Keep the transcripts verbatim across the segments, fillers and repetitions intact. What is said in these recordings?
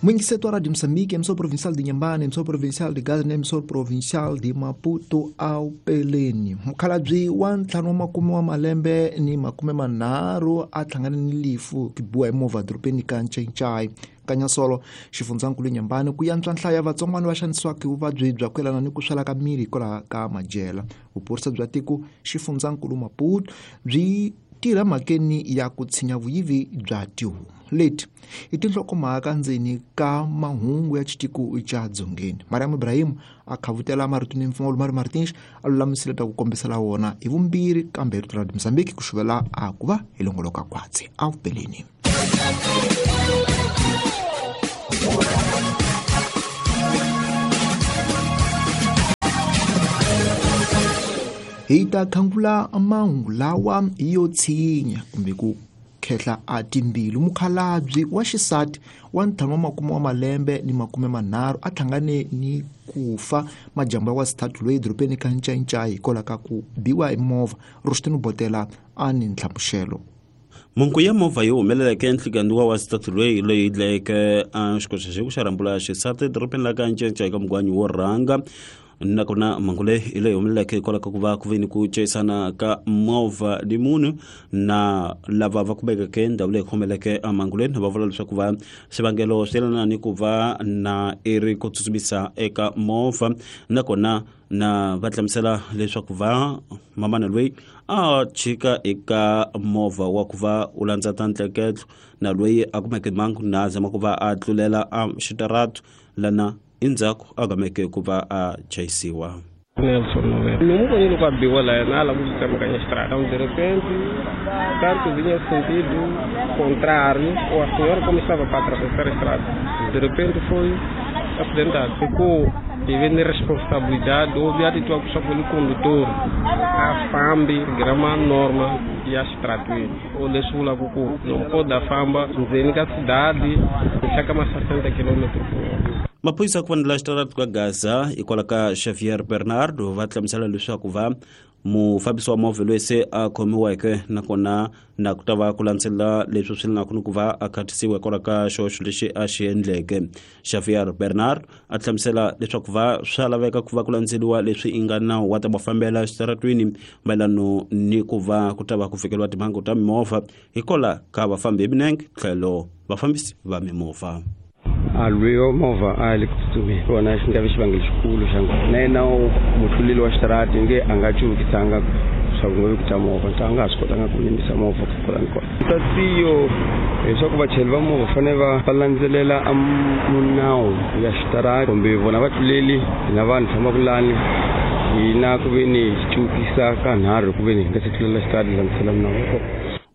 Mwingiseto wa Radio Moçambique, emissora provincial de Inhambane, emissora provincial de Gaza na emissora provincial de Maputo ao Peleni. Mukhalabye wa ntlhanu wa makume wa malembe ni makume manharhu a hlangane ni lifu ku biwa hi movha dorobeni ka Ncencai Kanyasolo xifundzankulu Inhambane ku yantswa nhlayo ya vatsongwana va xanisiwaka hi vuvabyi bya ku yelana ni ku swela ka miri hikwalaho ka madyela. Vuphorisa bya tiko xifundzankulu Maputo byi tirha mhakeni ya ku tshinya vuyivi bya tihomu. Leti i tinhlokomhaka ndzeni ka mahungu ya xitiko xa Dzongeni. Mariam Ibrahim a khavutela marito ni mpfumawulo Mari Martins a lulamisile ta ku kombisela wona hi vumbirhi kambe rito ra Mozambique ku xuvela a ku va hi longoloka kwatsi a vupeleni. Hi ta khangula mahungu lawa yo tshinya kumbe ku khehla a timbilu. Mukhalabye wa xisati wa ntlhanu wa makume wa malembe ni makume manharhu a hlangane ni ku fa majambu ya wasithathu loyi edorobeni ka Ncancai hikwalaho ka ku biwa hi movha. Rushtini Botela a ni nhlamuxelo. Munku ya movha yi humeleleke enhlikani wa wasithathu loyi loyi dlayeke a xikoxa xi ku xa rhambula xisati edorobeni la ka Ncancai ka mugwanyi wo rhanga. Nakona mhangu leyi hi leyi humeleleke hikwalaho ka ku va ku ve ni ku chayisana ka movha ni munhu na lava va kumekeke ndhawu leyi khomeleke mhangu leyi va vula leswaku va xivangelo swi yelana ni ku va na i ri ku tsutsumisa eka movha nakona na va hlamusela leswaku va mamana loyi a chika eka movha wa ku va u landza ta ntleketlo na loyi a kumeke mhangu na zama ku va a tlulela a xitaratu lana endzhaku a gameke ku va a chayisiwa. Nelson Noel. Ni n'wi vonile ku a biwa laha na a lava ku tsemakanya xitarata. De repente, tanto vinha sentido contrário, ou a senhora como estava para atravessar a estrada. De repente foi acidentado. Ficou devendo responsabilidade, houve atitude pelo condutor, a fambi, grama norma e a estrada. O lesula kuku, não pode a famba, ndzeni ka cidade, chaka mais sessenta quilômetros por hora. Maphorisa ku fanela xitaratu ka Gaza hikwalaho ka Xavier Bernardo va hlamusela leswaku va mufambisi wa movha loyi se a khomiweke nakona na ku ta va ku landzelela leswi swi lenaka ni ku va a khatisiwa hikwalaho ka xihoxo lexi a xi endleke. Xavier Bernard a hlamusela leswaku va swa laveka ku va ku landzeliwa leswi i nga nawu wa ta va fambela xitaratwini mayelano ni ku va ku ta va ku fikeriwa timhangu ta mimovha hikwalaho ka vafambi hi milenge tlhelo vafambisi va mimovha. A lwiwa movha a le ku tsutsumeni kona xi nga vi xivangelo xikulu xa nghozi na yena mutluleli wa xitarati nge a nga cuvukisanga swa ku nga vi ku ta movha a nga ha swi kotanga ku yimisa movha ku kona ni kona. Tatiyo leswaku vachayeri va movha fanele va va landzelela a munawu ya xitarati kumbe vona vatluleli na vanhu fambaka lani hina ku ve ni hi cuvukisa ka nharhu ku ve ni hi nga se tlulela xitarati hi landzela minawu.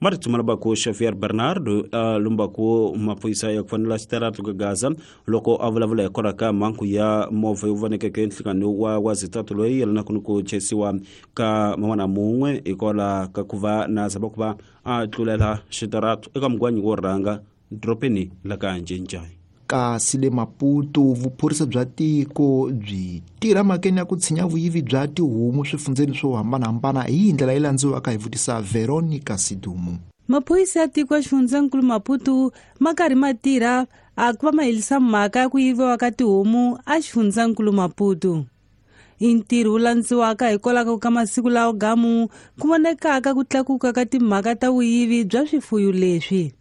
Marito malabako Xavier Bernardo a lumbaku maphorisa ya ku fanela xitaratu ka Gaza loko a vulavula hikwalaho ka mhangu ya movha yo vonekeke enhlikani wa wa zitatu loyi yelanaka ni ku chayisiwa ka man'wana mun'we hikwalaho ka ku va na zama ku va a tlulela xitaratu eka mugwanyi wo rhanga dorobeni la ka Ncencai. Kasi le Maputo vuphorisa bya tiko byi tirha mhakeni ya ku tshinya vuyivi bya tihomu swifundzeni swo hambanahambana hi ndlela yi landziwaka hi vutisa Veronica Sidumo. Maphorisa ya tiko ya xifundzankulu Maputo ma karhi ma tirha a ku va ma herisa mhaka ya ku yiviwa ka tihomu a xifundzankulu Maputo. I ntirho wu landziwaka hikwalaho ka masiku lawa gamu ku vonekaka ku tlakuka ka timhaka ta vuyivi bya swifuyo leswi.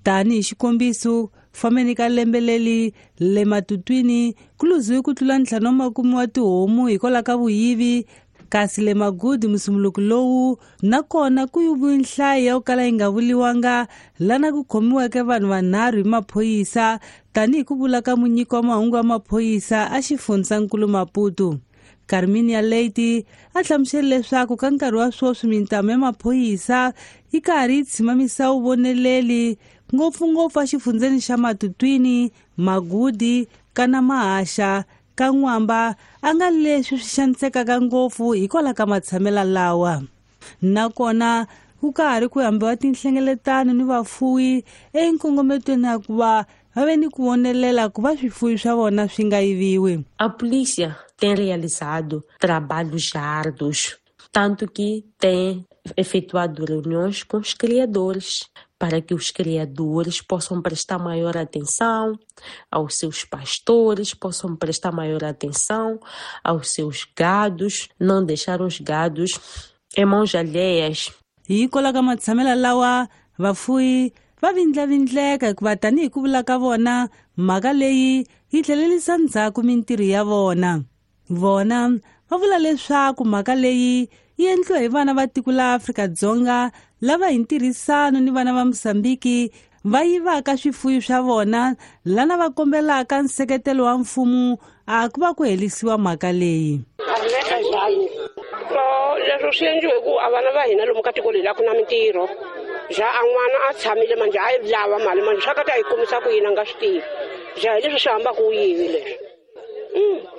Tanihi xikombiso, fambeni ka lembe leri le Matutwini ku luziwe ku tlula ntlhanu wa makume wa tihomu hikwalaho ka vuyivi, kasi le Magudi musumuluko lowu nakona ku yiviwe nhlayo ya ku kala yi nga vuliwanga lana ku khomiweke vanhu vanharhu hi maphorisa tanihi ku vula ka munyiki wa mahungu wa maphorisa a xifundzankulu Maputo. Carminia Leite a hlamusele leswaku ka nkarhi wa sweswi mintamu ya maphorisa yi karhi yi tshimamisa vuvoneleli ngopfungopfu exifundzeni xa Matutwini, Magudi, kana Mahaxa, ka N'wamba a nga leswi swi xanisekaka ngopfu hikwalaho ka matshamelo lawa. Nakona ku karhi ku hambiwa tinhlengeletano ni vafuwi enkongometweni ya ku va va ve ni ku vonelela ku va swifuwi swa vona swi nga yiviwi. A polícia tem realizado trabalhos árduos, tanto que tem efetuado reuniões com os criadores para que os criadores possam prestar maior atenção aos seus pastores, possam prestar maior atenção aos seus gados, não deixar os gados em mãos alheias. Hi kwalaho ka matshamelo lawa vafuyi va vindlavindleka hikuva tanihi ku vula ka vona mhaka leyi yi tlhelerisa ndzhaku mintirho ya vona. Vona va vula leswaku mhaka leyi yi endliwa hi vana va tiko la Afrika-Dzonga lava hi ntirhisano ni vana va Mozambiki va yivaka swifuyo swa vona lana va kombelaka nseketelo wa mfumo a ku va ku herisiwa mhaka leyi. Leswo swi endliwe hi ku a vana va hina lomu ka tiko leri a ku na mintirho ja a n'wana a tshamile manjhe a yi lava mali manjhe swa ka ta yi kumisa ku yini a nga swi tivi ja hi leswi swi hambaka u yivi leswi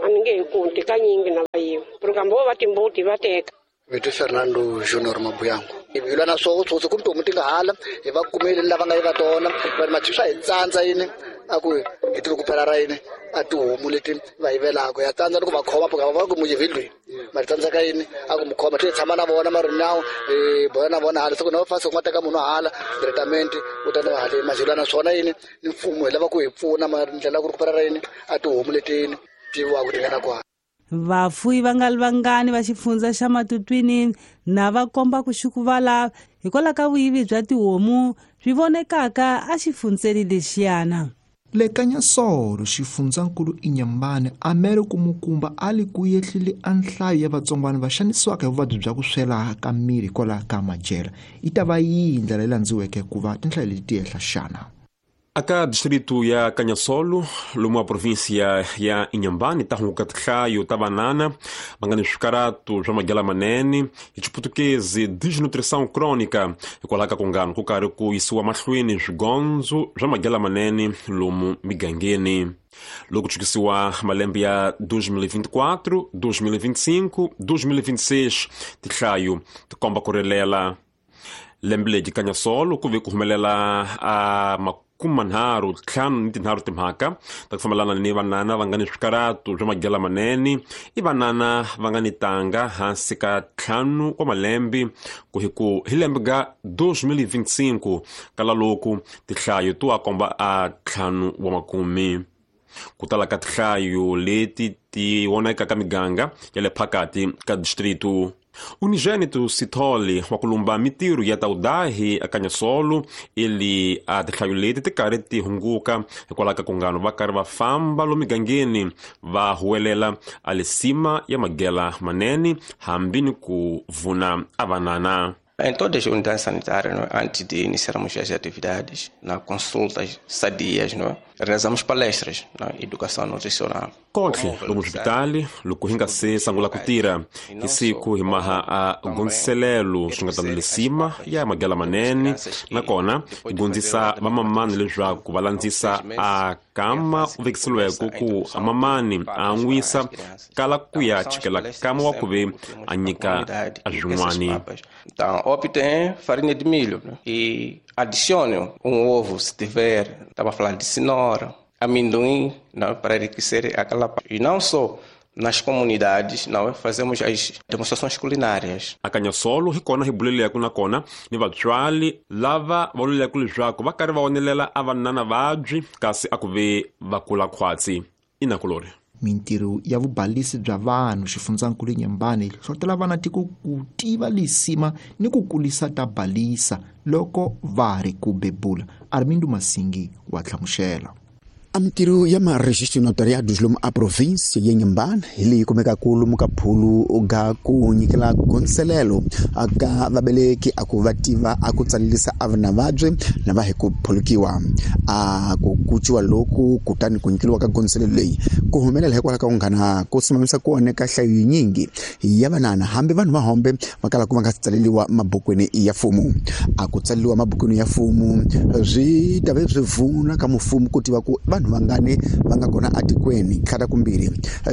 a mi nge hi kunti kanyingi na va yiva kambe vo va timbuti va teka. Vito Fernando Junior Mabuyango. Hi lwa na swoho tsotsi kumbe tihomu ti nga hala hi va kumile lava nga yiva tona va ri swa hi tsandza yini a ku hi ti ku phela ra yini a tihomu leti va yivelaka ya tsandza loko va khoma va va ku mu yivile ma tsandza ka yini a ku mu khoma ti tshama na vona ma ri nawu hi bola na vona hala se ku na va fasa ku nga teka munhu hala testament u ta na hala ma na swona yini ni mfumo hi lava ku hi pfuna ma ndlela ku ri ku phela ra yini a tihomu leti yini ti wa ku tingana kwa. Vafuyi va nga ri vangani va xifundza xa Matutwini na va komba ku xukuvala hikwalaho ka vuyivi bya tihomu swi vonekaka a xifundzeni lexiyana. Le Kanyasolo xifundzankulu Inhambane amere ku mukumba a li ku yehlile a nhlayo ya vatsongwana va xanisiwaka hi vuvabyi bya ku swela ka miri hikwalaho ka madyela. Yi ta va yihi ndlela leyi landziweke ku va tinhlayo leti ti ehla xana? Aka distrito ya Canhassolo, lomu a província ya Inhambane, ta hunguka tinhlayo ta vanana va nga ni swikaratu swa madyela manene hi xiputukezi desnutrição crônica hikwalaho ka ku ngano ku karhi ku yisiwa mahlweni swigondzo swa madyela manene lomu migangeni. Loko chukisiwa malembe ya dois mil e vinte e quatro, dois mil e vinte e cinco, dois mil e vinte e seis tinhlayo ti komba ku rilela. Lembe leri Canhassolo ku ve ku humelela a makume manharhu ntlhanu ni tinharhu timhaka ta ku fambelana ni vanana va nga ni swikaratu swa madyela manene i vanana va nga ni tanga hansi ka ntlhanu wa malembe ku hi ku hi lembe ga dois mil e vinte e cinco kala loku tinhlayo to a komba a ntlhanu wa makume. Ku tala ka tinhlayo leti ti vonaka ka miganga ya le phakati ka distrito. Unigênito Sithole wa ku lumba mintirho ya taudahi a Canhassolo ili a tinhlayo leti ti karhi ti hunguka hikwalaho ka ku ngano va karhi va famba lomu migangeni va huwelela a lisima ya madyela manene hambi ni ku vuna a vanana. Em todas as unidades sanitárias, não é? Antes de iniciarmos as atividades, na consultas sadias, não é? Realizamos palestras na educação nutricional. Kontle lomu hospitali loko hi nga se sungula ku tirha hi siku hi maha a gondziselelo swi nga ta lisima ya madyela manene nakona hi gondzisa vamamani leswaku va landzisa a kama u vekiseliweke ku mamani a an'wisa kala ku ya chikela kama wa ku ve a nyika a swin'wani. Então, optem farinha de milho, né? E adicione um ovo se tiver, estava a falar de cenoura, amendoim, não, para enriquecer aquela. E não só nas comunidades, não, fazemos as demonstrações culinárias. A Canhassolo hi kona hi buleleke nakona ni vatswari lava va vuleleke leswaku va karhi va onelela a vanana vabyi kasi a ku ve va kula khwatsi inakulori. Mintirho ya vubalisi bya vanhu xifundzankulu Inhambane yi hlohlotela vana tiko ku tiva lisima ni ku kulisa ta balisa loko va ri ku bebula. Armindo Masingi wa hlamusela. A mintirho ya maregistro notariados lomu a província ya Inhambane hi leyi kumekaka lomu ka phulu ga ku nyikela gondzelelo ka vabeleki a ku va tiva a ku tsalelisa a vana vabyi na va hi ku phulukiwa a ku kuciwa loku kutani ku nyikeliwa ka gondzelelo leyi ku humelela hikwalaho ka ku nghana ku simamisa ku oneka nhlayo yinyingi ya vanana hambi vanhu va hombe va kala ku va nga tsaleliwa mabukwini ya mfumo. A ku tsaleliwa mabukwini ya mfumo swi ta ve swi vuna ka mfumo ku tiva ku vanhu vanhu vangani va nga kona atikweni tlhata kumbirhi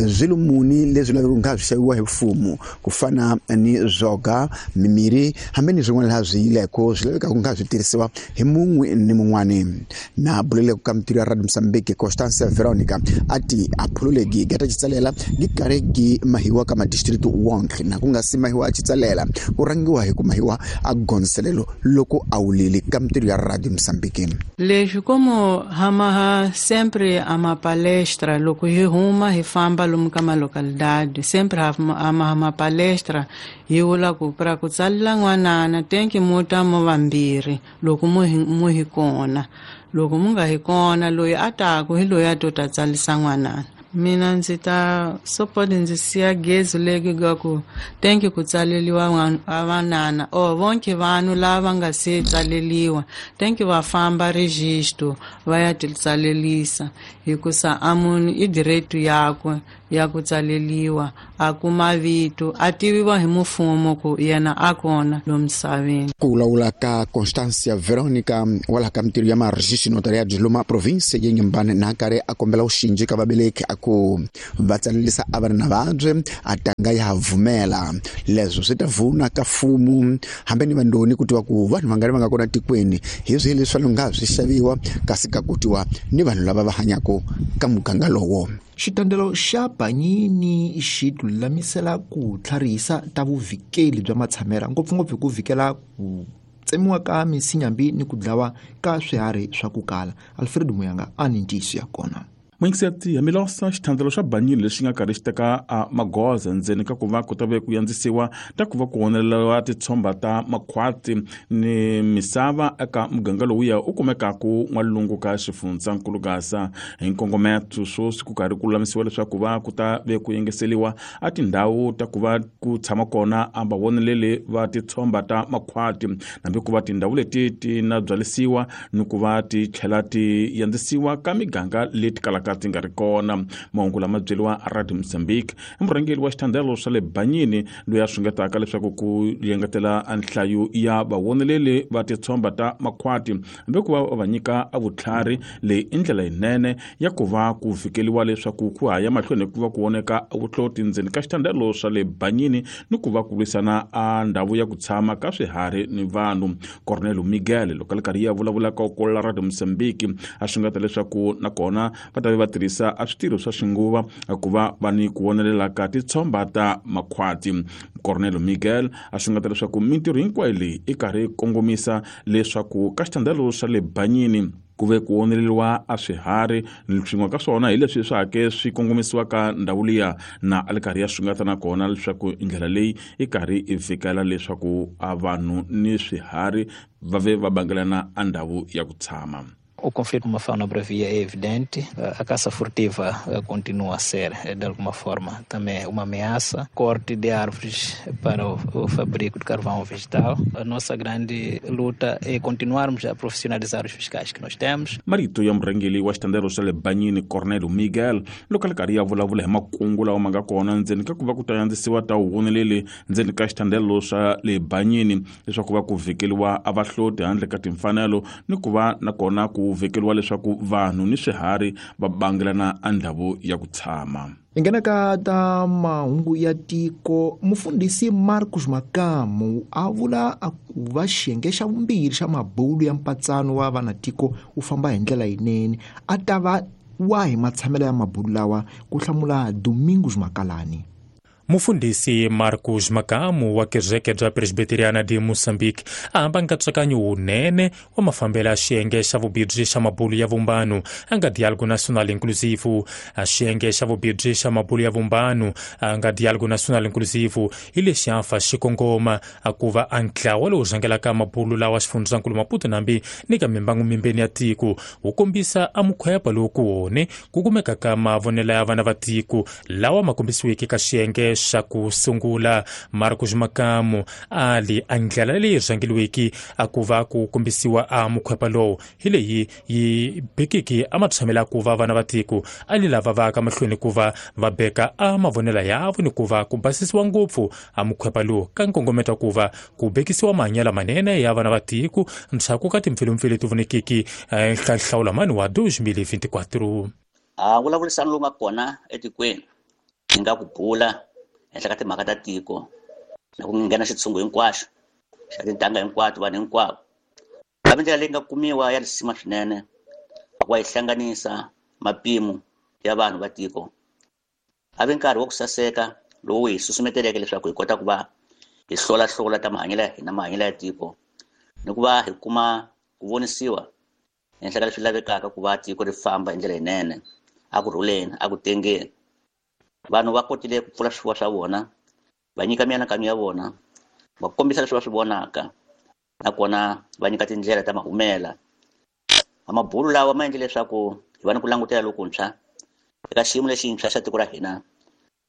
swilo muni leswi lavekaka nga swi xaviwa hi mfumo ku fana ni zwoga mimiri hambi ni swin'wana laha swi yileko swi lavekaka nga swi tirhisiwa hi mun'we ni mun'wani na buleleko ka mitirho ya Radio Mozambique Constance Veronica ati a phululegi gata xitsalela gi karhi gi mahiwa ka madistrict wonke na ku nga si mahiwa a xitsalela ku rangiwa hi ku mahiwa a gonselelo loko a wulile ka mitirho ya Radio Mozambique. Leswi como hamaha sempre a uma palestra loko hi huma hi famba lomu ka malocalidade sempre hama uma palestra hi vula ku pra ku tsalela n'wanana tenki muta mo vambirhi loko mu mu hi kona loko mu nga hi kona loyi a taku hi loyi a to ta tsalisa n'wanana. Mina ndzi ta support ndzi siya gezi leki ga ku tenki ku tsaleliwa vanana or vonke vanhu lava nga se tsaleliwa tenki va famba registro va ya ti tsalelisa hikusa a munhu i direito yakwe ya ku tsaleliwa a kuma vito a tiviwa hi mfumo ku yena a kona lomu misaveni. Ku vulavula ka Constancia Veronica wala ka mitirho ya marejistro notariado loma province ya Inhambane na karhi a kombela uxinji ka vabeleki a ku va tsalelisa a vana na vabye a tanga ya vumela leswo swi ta vuna ka mfumo hambi ni vandoni ku tiva ku vanhu vangani va nga kona tikweni hi swihi leswi nga swi xaviwa kasi ka kutiwa ni vanhu lava va hanyaka ka muganga lowo. Xitandelo xa Banyini xi lulamisela ku tlharihisa ta vuvikeli bya matshamela ngopfungopfu hi ku vikela ku tsemiwa ka misinyambi ni ku dlawa ka swiharhi swa ku kala. Alfred Muyanga a ni ntiyiso ya kona. Mwingiseti Milosa xithandelo xa Banyini lexi nga karhi xi teka a magoza ndzeni ka ku va ku ta ve ku yandzisiwa ta ku va ku oneleriwa titshomba ta makhwati ni misava eka muganga lowuya u kumekaku n'walungu ka xifundzankulu Gaza hi nkongometo swoswi ku karhi ku lulamisiwa leswaku va ku ta ve ku yengeseliwa a tindhawu ta ku va ku tshama kona a va voneleli va titshomba ta makhwati hambi ku va tindhawu leti ti na byalisiwa ni ku va ti tlhela ti yandzisiwa ka miganga leti kalaka ti nga ri kona. Mahungu lama byeriwa Radio Mozambique i murhangeri wa xithandelo swa le Banyini loyi a swingetaka leswaku ku yengetela nhlayo ya vawoneleli va titshomba ta makhwati hambi ku va va nyika a vutlhari leyi i ndlela yinene ya ku va ku fikeliwa leswaku ku haya mahlweni ku va ku voneka vuhloti ndzeni ka xithandelo swa le Banyini ni ku va ku lwisana a ndhawu ya ku tshama ka swiharhi ni vanhu. Cornelio Miguel loko a ri karhi ya vulavulaka ku la Radio Mozambique a swingeta leswaku nakona va ta va tirhisa a switirho swa xinguva ku va va ni ku vonelela ka titshomba ta makhwati. Cornelio Miguel a xungeta leswaku mintirho hinkwayo leyi i karhi kongomisa leswaku ka xithandelo xa le Banyini ku ve ku oneleriwa a swiharhi swin'we ka swona hi leswi swa hake swi kongomisiwaka ndhawu liya na a li karhi ya xungeta nakona leswaku ndlela leyi i karhi i fikela leswaku a vanhu ni swiharhi va ve va bangelana a ndhawu ya ku tshama. O conflito com a fauna bravia é evidente, a caça furtiva continua a ser, de alguma forma, também uma ameaça. Corte de árvores para o, o fabrico de carvão vegetal. A nossa grande luta é continuarmos a profissionalizar os fiscais que nós temos. Marito ya murhangeri wa xitandelo xa le Banyini Cornelio Miguel loko a ri karhi ya vulavula hi makungu lawa ma nga kona ndzeni ka ku va ku ta yandzisiwa ta vuvoneleli ndzeni ka xitandelo xa le Banyini leswaku va ku vhikeliwa a vahloti handle ka timfanelo ni ku va nakona ku vekeriwa leswaku vanhu ni swiharhi va bangelana a ndhawu ya ku tshama. Hi nghena ka ta mahungu ya tiko. Mufundhisi Marcos Makamu a vula a ku va xiyenge xa vumbirhi xa mabulu ya mpatsano wa vanatiko wu famba hi ndlela yinene a ta va wahi matshamelo ya mabulu lawa ku hlamula Domingos Makalani. Mufundhisi Marcos Makamu wa kereke bya Presbiteriana de Moçambique a hamba nkatsakanyo wunene wa mafambelo ya xiyenge xa vubirhi xa mabulu ya vumbano a nga Diálogo Nacional Inclusivo. A xiyenge xa vubirhi xa mabulu ya vumbano a nga Diálogo Nacional Inclusivo hi lexi a fa xi kongoma a ku va a ntlawa lowu rhangelaka mabulu lawa xifundzankulu Maputo nambi ni ka mimbangu mimbeni ya tiko wu kombisa a mukhwepa lowu ku wone ku kumeka ka mavonelo ya vana va tiko lawa ma kombisiweke ka xiyenge xiyenge xa ku sungula. Marcos Makamu a li a ndlela leyi rhangeliweki a ku va ku kombisiwa a mukhwepa lowu hi leyi yi bekiki a matshamela ku va vana va tiko a li lava va ka mahlweni ku va va beka a mavonelo yavo ni ku va ku basisiwa ngopfu a mukhwepa lowu ka nkongometo ku va ku bekisiwa mahanyelo manene ya vana va tiko ndzhaku ka timpfilumpfilu leti vonekiki nhlawula mani wa dois mil e vinte e quatro. A vulavurisano lowu nga kona etikweni ni nga ku bula henhla ka timhaka ta tiko na ku nghena xitshungu hinkwaxo xa tintangha hinkwato vanhu hinkwavo kambe ndlela leyi nga kumiwa ya risima swinene ku va yi hlanganisa mapimo ya vanhu va tiko a vi nkarhi wa ku saseka lowu hi susumeteleke leswaku hi kota ku va hi hlolahlola ta mahanyelo ya hina mahanyelo ya tiko ni ku va hi kuma ku vonisiwa henhla ka leswi lavekaka ku va tiko ri famba hi ndlela yinene a ku rhuleni a ku tengeni. Vanhu va kotile ku pfula swifuwo swa vona va nyika mianakanyo ya vona va kombisa leswi va swi vonaka nakona va nyika tindlela ta mahumela. Mabulu lawa ma endle leswaku hi va ni ku langutela lokuntshwa eka xiyimo lexintshwa xa tiko ra hina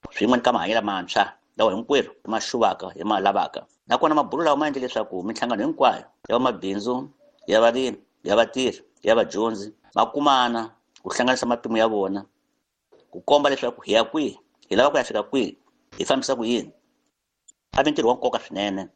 swin'we ni ka mahanyelo mantshwa lawa hinkwerhu hi ma xuvaka hi ma lavaka. Nakona mabulu lawa ma endle leswaku minhlangano hinkwayo ya vamabindzu ya varimi ya vatirhi ya vadyondzi va kumana ku hlanganisa mapimo ya vona ku komba leswaku hi ya kwihi hi lava ku ya fika kwihi hi fambisa ku yini. A vi ntirho wa nkoka swinene.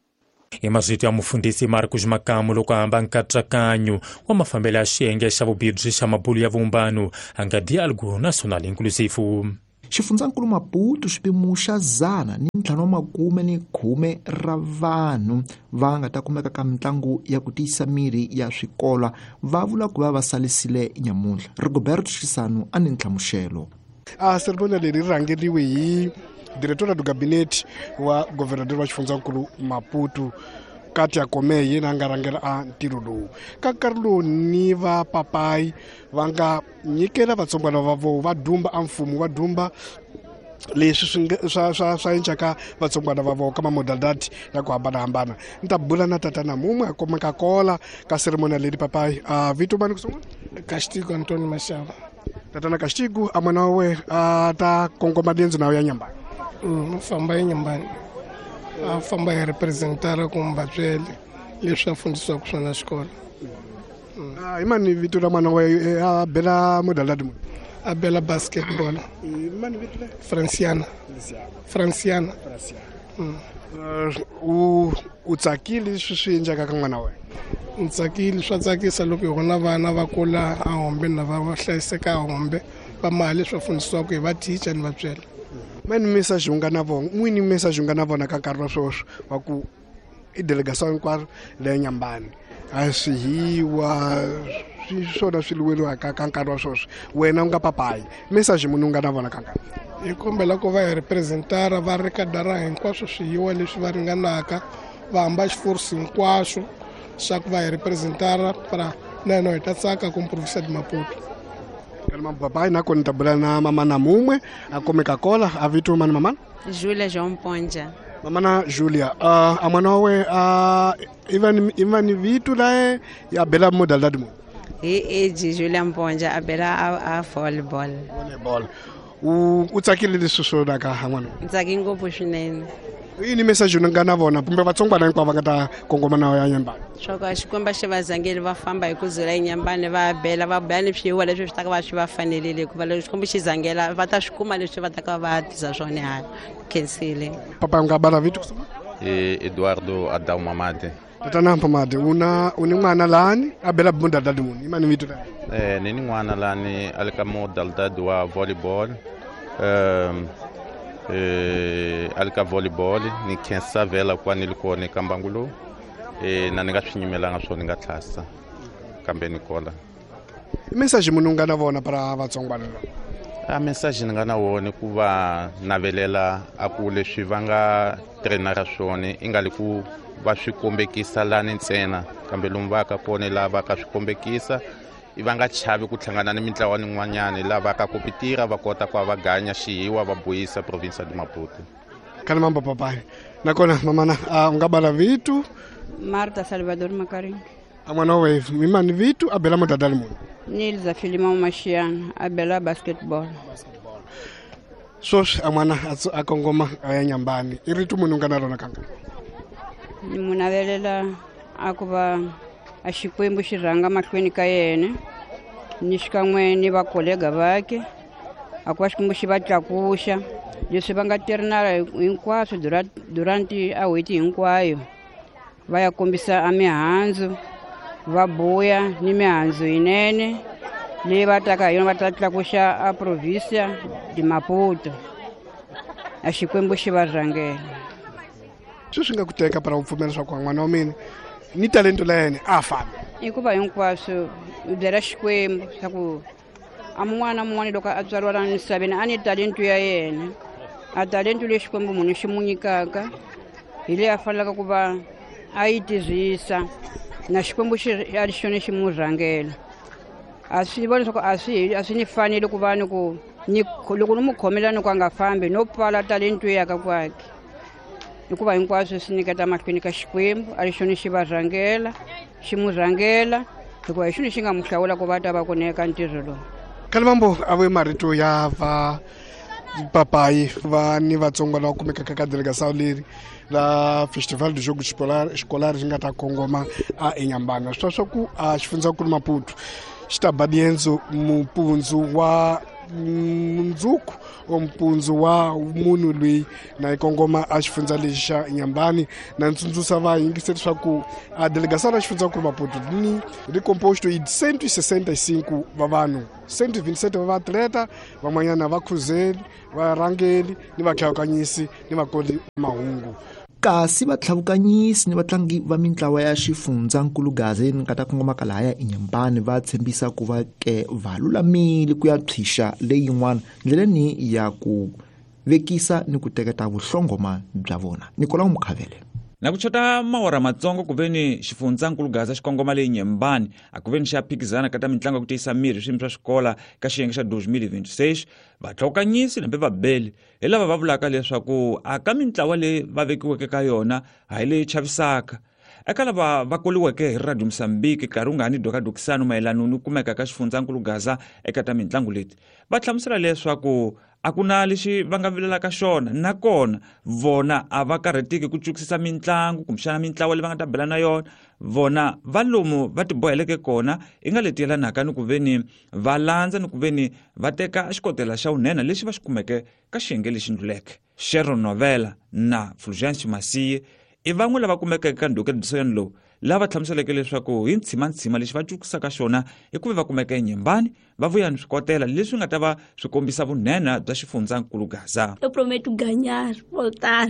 Hi mazito ya mufundhisi Marcos Makamu loko a hamba nkatsakanyo wa mafambelo ya xiyenge xa vubirhi xa mabulu ya vumbano a nga Diálogo Nacional Inclusivo. Xifundzankulu Maputo xipimo xa zana ni ntlhanu wa makume ni khume ra vanhu va nga ta kumeka ka mitlangu ya ku tiyisa miri ya swikolo va vula ku va va salisile nyamuntlha. Rigoberto Xisano a ni nhlamuxelo. A ceremonia leri rhangeriwe hi diretora do gabinete wa governador wa xifundzankulu Maputo Katia Kome yena a nga rhangela a ntirho lowu. Ka nkarhi lowu ni va papayi va nga nyikela vatsongwana va vona va dumba a mfumo va dumba leswi swi swa swa swa encaka vatsongwana va vona ka mamodalidade ya ku hambanahambana. Ni ta bula na tatana mumwe a kumeka kola ka ceremonia leri papayi a vito mani ku sungula. Castigo Antonio Mashava. Tatana Castigo a mwana wa we a ta kongoma diendzo nawo ya Nyambani. Mm, famba ya Nyambani. A famba hi representara kumbe vatswele leswi a fundisiwaka swona xikolo. Hi mani vito ra mwana wa a bela modalidade muni? A bela basketball. Hi mani vito le? Franciana. Franciana. Mm. U u tsakile leswi swi endlaka ka n'wana wa wena? Ni tsakile, swa tsakisa loko hi vona vana va kula a hombe na va va hlayiseka a hombe va maha leswi va fundisiwaka hi va teacher ni vatswele. Mani message u nga na vona n'wini message u nga na vona ka nkarhi wa sweswi wa ku i delegation hinkwayo leya Nyambani a swi hiwa swi swona swi lweriwaka ka nkarhi wa sweswi wena u nga papayi message munhu u nga na vona ka nkarhi. Hi kombela ku va hi representara va ri ka dara hinkwaswo swiyiwa leswi va ringanaka va hamba xiforsi hinkwaswo swa ku va hi representara para na hina hi ta tsaka ku province de Maputo. Papai na kona ta bula na mama na mumwe a kumeka kola a vito mani mamana Julia João Ponja. Mamana Julia uh, a mwana we uh, even even vitu lae ya bela modalidade mu hi age Julia Mponja a bela a, a volleyball. Volleyball. U u tsakile leswi swo ka ha n'wana? Ntsaki ngopfu swinene. Yini message u nga na vona kumbe vatsongwana hinkwavo va nga ta kongoma na ya Nyambani? Swa ku Xikwembu xi va zangeli va famba hi ku dzula eNyambani va bela va bela ni swiyiwa leswi swi ta ka va swi va fanelile hikuva loko Xikwembu xi zangela va ta swi kuma leswi va ta ka va tisa swona hala. Khensile. Papa u nga bala vito? E Eduardo Adão Mamade. Tatana Mamade una u ni n'wana lani a bela modalidade muni? Imani vito la? Eh ni ni n'wana lani a le ka modalidade wa volleyball. Um eh alika volleyball ni khensa vela kwa ni likone ka mbangu lowu eh na ni nga swi nyimelanga swona ni nga tlhasa kambe ni kola. Message munhu nga na vona para vatsongwana lava? A message ni nga na wona ku va navelela a ku leswi va nga trainara swona i nga li ku va swi kombekisa lani ntsena kambe lomu va ka kona lava ka swi kombekisa i va nga chavi ku hlangana ni mintlawa nin'wanyana lava ka kompetira va kota ku va ganya xihiwa va buyisa province de Maputo. Kana mambo papai nakona mamana uh, u nga bala vitu Marta Salvador Makaringi. A mwana we mimani vitu a bela modalidade muni? Nilza Filimão Machiana a bela basketball. Basketball. Sweswi a n'wana a kongoma a ya Nyambani i rito munhu nga na rona kanga. Ni mu navelela a ku va a Xikwembu xi rhanga mahlweni ka yena ni xikan'we ni vakolega vake, a ku va Xikwembu xi va tlakuxa leswi va nga tirhinala hinkwaswo durante a n'hweti hinkwayo, va ya kombisa a mihandzu, va buya ni mihandzu yinene leyi va taka hi yona va ta tlakuxa a província de Maputo. A Xikwembu xi va rhangela. Sweswi nga ku teka para u pfumela leswaku n'wana wa mina ni talento la yena a fambi? Hikuva hinkwaswo u byela Xikwembu swa ku a mun'wana na mun'wana loko a tswariwa laha misaveni a ni talento ya yena, a talento leyi Xikwembu munhu xi mu nyikaka hi leyi a fanelaka ku va a yi tirhisa, na Xikwembu xi a ri xona xi mu rhangela. A swi vona leswaku a swi a swi ni fanele ku va ni ku ni loko ni mu khomela ni ku a nga fambi no pfala talento ya ka kwakhe, hikuva hinkwaswo swi nyiketa mahlweni ka Xikwembu, a ri xona xi va rhangela, xi mu rhangela, hikuva hi xona xi nga mu hlawula ku va ta va ku neka ntirho lowu. Kalivambo a ve marito ya va papayi va ni vatsongo lava kumekaka ka delegação leri la Festival do Jogo Escolar Escolar ri nga ta kongoma a eNyambana. Swi swa ku a xifundzankulu Maputo xi ta ba dienzo mupundzu wa mundzuku o mpundzu wa munhu loyi na yi kongoma a xifundza lexi xa Nyambani. Na ntsundzuxa va yingiseri leswaku a delegação ra xifundzankulu Maputo ni ri composto hi cento e sessenta e cinco va vanhu, cento e vinte e sete va vaatleta, van'wanyana va khuzeli, varhangeli ni vatlhavukanyisi ni vakoli mahungu. Kasi vatlhavukanyisi ni vatlangi va mintlawa ya xifundzankulu Gaza ni nga ta kongomaka lahaya eNyambani va tshembisa ku va ke va lulamile ku ya phyisha leyin'wana ndleleni ya ku vekisa ni ku teketa vuhlongoma bya vona. Nicolau Mukhavele. Na ku chota mawara matsongo ku veni xifundzankulu Gaza xi kongoma leyi Nyembani a ku veni xa phikizana ka ta mitlangu ya ku tiyisa miri swiyimo swa xikola ka xiyenge xa dois mil e vinte e seis. Vatlhokanyisi nambe vabeli hi lava va vulaka leswaku a ka mintlawa leyi va vekiweke ka yona a hi leyi chavisaka. Eka lava va koliweke hi Radio Mozambique nkarhi wu nga ha ni dokadokisano mayelana ni kumeka ka xifundzankulu Gaza eka ta mitlangu leti, va hlamusela leswaku a ku na lexi va nga vilelaka xona, nakona vona a va karhateki ku cukisisa mitlangu kumbexana mintlawa leyi va nga ta bela na yona. Vona va lomu va tiboheleke kona i nga leti yelanaka ni ku veni va landza ni ku veni va teka xikotela xa vunene lexi va xi kumeke ka xiyenge lexi ndluleke. Sharon Novela na Fulgence Masiye i van'we lava kumekeke ka ndhukedisoyani lowu, lava hlamuseleke leswaku hi ntshimantsima lexi va cukisaka xona i ku ve va kumeka eNyembani va vuya ni swikotela leswi nga ta va swi kombisa vunene bya xifundzankulu Gaza. Eu prometo ganhar, voltar,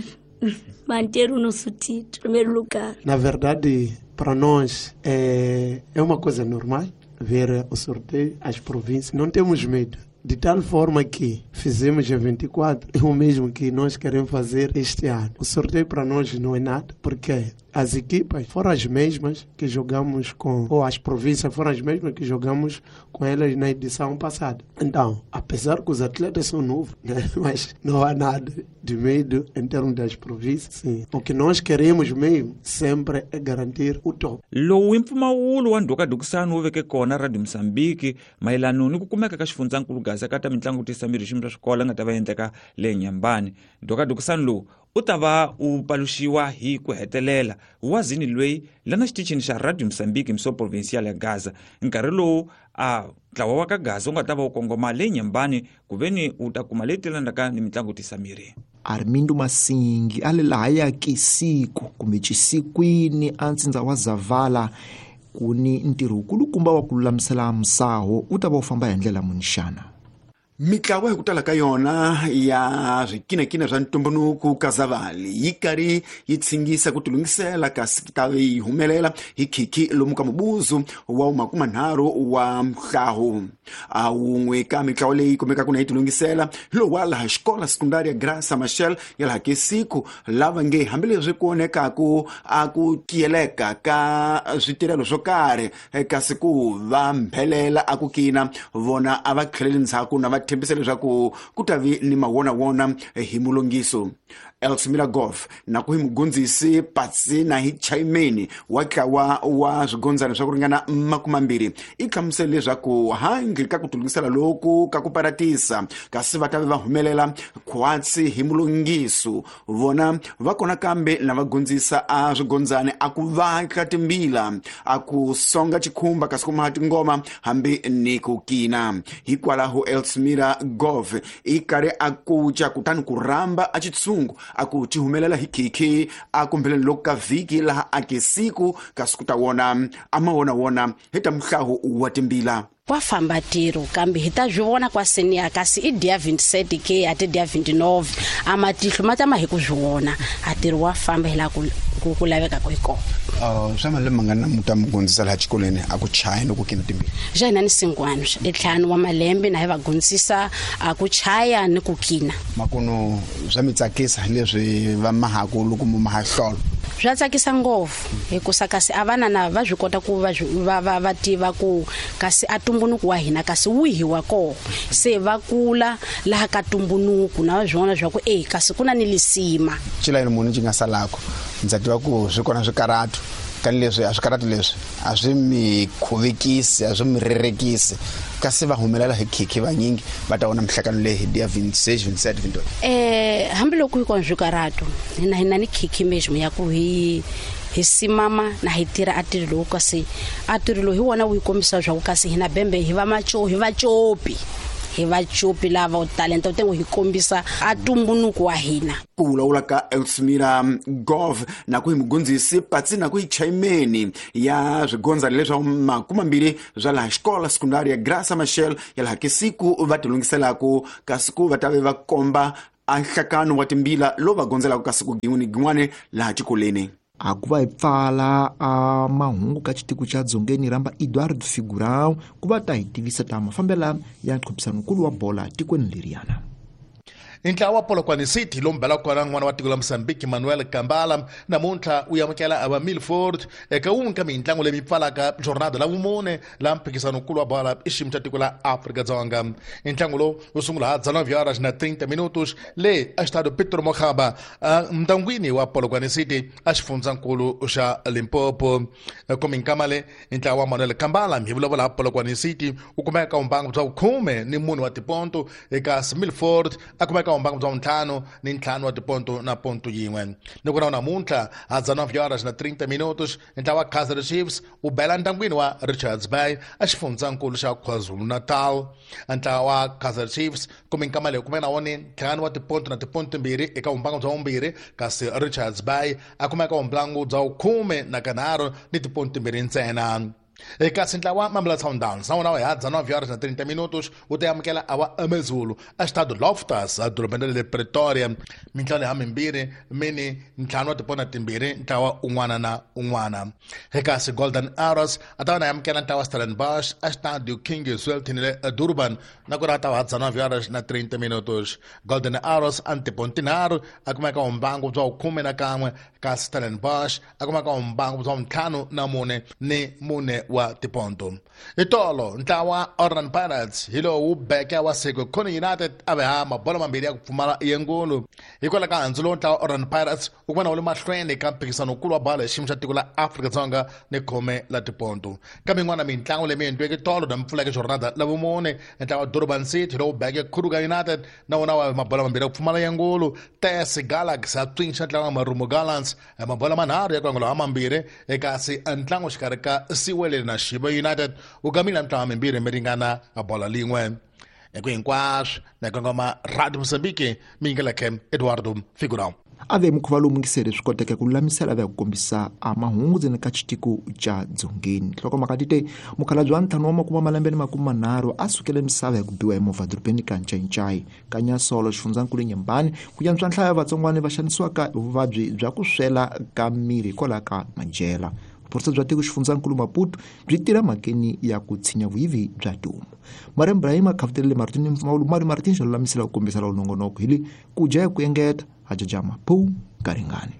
manter o nosso título, primeiro lugar. Na verdade, para nós é, é uma coisa normal ver o sorteio, as províncias. Não temos medo. De tal forma que fizemos em vinte e quatro, é o mesmo que nós queremos fazer este ano. O sorteio para nós não é nada, porque as equipas foram as mesmas que jogamos com, ou as províncias foram as mesmas que jogamos com elas na edição passada. Então, apesar que os atletas são novos, né? Mas não há nada de medo em termos das províncias. Sim. O que nós queremos mesmo sempre é garantir o top. Lowu i mpfumawulo wa ndhukadukisano wu veke kona Radio Mozambique mayelana ni ku kumeka ka xifundzankulu Gaza ka ta mitlangu ku tiyisa miri xiyimo swa xikolo nga ta va endleka le Nyambani. Ndhukadukisano lowu u ta va u paluxiwa hi ku hetelela wazini loyi lana xitichini xa Radio Mozambique mso provincial ya Gaza nkarhi lowu a ntlawa wa ka Gaza wu nga ta va wu kongoma le Nyambani ku veni u ta kuma leyi telanaka ni mitlangu tiyisa miri. Armindo Masingi a le lahaya Kisiku kumbe Chisikwini a ntsindza wa Zavala ku ni ntirho wukulukumba wa ku lulamisela musaho wu ta va wu famba hi ndlela muni xana? Mitlawa hi ku tala ka yona ya swikinakina swa ntumbuluko ka Zavali yi karhi yi tshingisa ku tilunghisela kasi ta yi humelela hi khikhi lomu ka mubuzu wa makumanharhu wa mhlahu. A wun'we ka mitlawa leyi kumekaka na yi tilunghisela hi lowu wa laha xikola sekundari ya Graça Machel ya laha Kesiku, lava nge hambileswi ku onhekaku a ku tiyeleka ka switirhelo swo karhi kasi ku va mphelela a ku kina vona a va tlheleli ndzhaku na va tshembisa leswaku ku ta vi ni mawonawona hi mulungiso. Elsmira Golf na ku hi mugundzisi patsi na hi chaimeni wa tlawa wa swigondzana swa ku ringana makumambirhi i hlamusele leswaku handle ka ku tilungisela loku ka ku paratisa kasi va ta va humelela khwatsi hi mulungiso vona va kona kambe na va gundzisa a swigondzana a ku vatla timbila a ku songa chikhumba kasi ku maha tingoma hambi ni ku kina. Hikwalaho Elsmira Golf i karhi a kuca kutani ku rhamba a xitshungu a ku ti humelela hi khikhi a kumbeleni loko ka vhiki laha a ke siku kasi ku ta wona a ma wona wona hi ta muhlahu wa timbila. Kwa famba tiro kambe hi ta byi vona kwa senior kasi i dia twenty-seven ke a ti dia twenty-nine a matihlo ma tama hi ku byi vona a tiro wa famba hi la ku ku laveka ku hi kona. Uh, swa malembe mangani namuntlha mi gundzisa laha xikolweni a ku chaya ni ku kina timbila? Xa hina ni singwani i ntlhanu wa malembe na hi va gundzisa a ku chaya ni ku kina. Makuno swa mi tsakisa leswi va mahaku loko mu mahahlolo? Swa tsakisa ngopfu hikusa kasi a vana na va swi kota ku va va va va tiva ku kasi a tumbunuku wa hina kasi wihi wa koho se va kula laha ka tumbunuku na va swi vona swa ku e kasi ku na ni lisima. Xilayini muni xi nga salako ndza tiva ku swi kona swikaratu kani leswi a swikaratu leswi a swi mi khuvekisi a swi mi rerekisi kasi va humelela hi khikhi vanyingi va ta vona mihlakano leyi hi dia twenty-six twenty-seven twenty-eight. Eh hambiloko yi kona swikaratu hina hina ni khikhi mesmo ya ku hi hi simama na hi tirha a tirho lowu kasi a tirho lowu hi wona wu yi kombisa swa ku kasi hina bembe hi va macho hi va copi hi va copi lava talenta u tengo hi kombisa a tumbunuku wa hina. Ku vulavula ka Elsmira Golf na ku hi mugundzisi patsi na ku hi chaimeni ya swigondzana leswa makumambirhi swa laha xikola sekundari ya Graça Machel ya laha kesiku va tilungiselaku kasi ku va ta ve va komba a nhlakano wa timbila lowu va gondzelaka kasi ku gin'wani gin'wani laha xikolweni. A ku va hi pfala a mahungu ka xitiko xa dzongeni rhamba Eduardo Figurão ku va ta hi tivisa ta mafambela ya nqhubisanokulu wa bola tikweni leriyana. Ntlawa wa Polokwane City lowu mbelaka kona n'wana wa tiko la Mozambique Manuel Kambala namuntlha u amukela ava Milford eka wun'we ka mintlangu leyi pfalaka jornada la vumune la mphikizanokulu wa bola i xiyimo xa tiko la Afrika-Dzonga. Ntlangu lowu wu sungula ha dezenove horas na trinta minutos le Estádio Pedro Mokgaba ntangwini wa Polokwane City a xifundzankulu xa Limpopo. Kominkamale ntlawa wa Manuel Kambala hi vulavula ha Polokwane City u kumeka vumbangu bya vukhume ni mune wa tiponto eka Milford a kumeka mbangu bya ntlhanu ni ntlhanu wa tiponto na ponto yin'we. Ni ku na namuntlha ha dezenove horas na trinta minutos ntlawa wa Kaizer Chiefs wu bela ntangwini wa Richards Bay a xifundzankulu xa KwaZulu-Natal. Ntlawa wa Kaizer Chiefs kumbe nkama leyi kumeka na wona ntlhanu wa tiponto na tiponto timbirhi eka vumbangu bya vumbirhi kasi Richards Bay a kumeka vumbangu bya vukhume na kanharhu ni tiponto timbirhi ntsena. Kasi ntlawa Mamelodi Sundowns na wona wa dezenove horas na trinta minutos wu ta amukela awa Amazulu a Estádio Loftus a dorobeni ra le Pretoria. Mintlawa leyi hamimbirhi mini ntlhanu wa tipona timbirhi ntlawa un'wana na un'wana. Kasi Golden Arrows a ta va na amukela ntlawa Stellenbosch a Estádio King Zwelithini le Durban na ku ri a ta va dezenove horas na trinta minutos. Golden Arrows a ni tiponto tinharhu a kumeka vumbangu bya vukhume na kan'we kasi Stellenbosch a kumeka vumbangu bya ntlhanu na mune ni mune wa tiponto. Itolo ntlawa Orlando Pirates hi lowu beke wa Sekhukhune United a ve ha mabolo mambirhi ya ku pfumala yengulu. Hikwalaho ka handzu lowu ntlawa Orlando Pirates wu kuma na wu le mahlweni ka mphikizanokulu wa bolo hi xiyimo xa tiko la Afrika-Dzonga ni khume la tiponto. Kambe yin'wana mintlangu leyi mi endliweke tolo na mpfuleke jornada la vumune ntlawa Durban City lowu beke Kruger United na wona wa mabolo mambirhi ya ku pfumala yengulu. T S Galaxy a tswinxa ntlawa wa Marumo Gallants mabolo manharhu ya ku angula mambirhi kasi ntlangu xikarhi ka Siwele na Shiba United wu gamile mintlawa mimbirhi mi ringana a bola lin'we. Eku hinkwaswo na kongoma Radio Mozambique mi yingeleke Eduardo Figurão. A ve mukhuva lowu mungiseri swi koteke ku lulamisela va ku kombisa a mahungu ndzeni ka xitiko xa dzongeni. Nhlokomhaka ti te mukhalabye wa ntlhanu wa makume malembe ni makume manharhu a sukele misava hi ku biwa hi movha dorobeni ka Ncayincai ka Nyasolo xifundzankulu Nyembani ku yantswa nhlayo ya vatsongwana va xanisiwaka hi vuvabyi bya ku swela ka miri hikwalaho ka madyela. Vuphorisa bya tiko xifundzankulu Maputo byi tirha mhakeni ya ku tshinya vuyivi bya tihomu. Mariam Ibrahim a khavutelele Martin Mali Martin xa lulamisela ku kombisa lawu nongonoko hi le ku dya hi ku engeta a jajama phu ka ringani.